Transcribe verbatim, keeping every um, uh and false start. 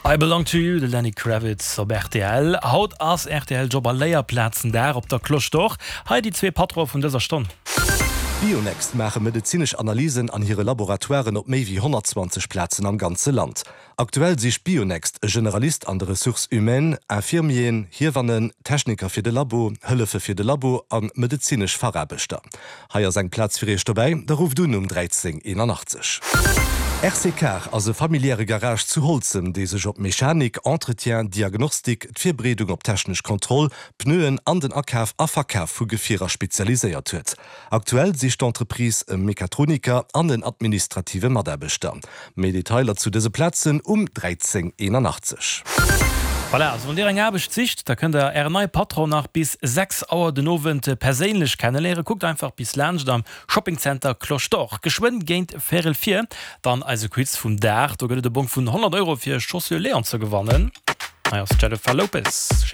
I Belong to You, de Lenny Kravitz op rtl. Haut ass rtl Job a Léierplazendag op der Cloche d'Or. Hei déi zwee Patrone vun dëser Stonn. Bionext maache medezinesch Analysen an hire Laboratoiren op méi wéi honnertzwanzeg Plazen am ganze Land. Aktuell sicht Bionext e Generalist an de Ressources humaines, Infirmieren, Hiewannen, Techniker fir de Labo, Hëllefe fir de Labo a medezinesch Fachaarbechter. Hei ass eng Plaz fir iech dobäi, da rufft un um dräizéng eenanachtzeg. R C Car ass e familiäre Garage zu Holzem, dee sech op Mechanik, Entretien, Diagnostik, d'Virbereedung op technesch Kontroll, Pneuen an den Akaf a Verkaf vu Gefierer spezialiséiert huet. Aktuell sicht d'Entreprise e Mechatroniker an en administrative Mataarbechter. Méi Detailer zu dëse Plazen um dräizéng eenanachtzeg. Voilà, also wann Dir eng Aarbecht sicht, da kënnt der Ären neie Patron nach bis sechs Auer den Owend perséinlech kenneléieren. Kuckt einfach bis laanscht am Shoppingzenter Cloche d'Or. Geschwënn géint véierel vir dann eise Quiz vum Dag. Do gëtt et e Bong vun honnert Euro fir Chaussures Léon ze gewannen. Hei ass Jennifer Lopez.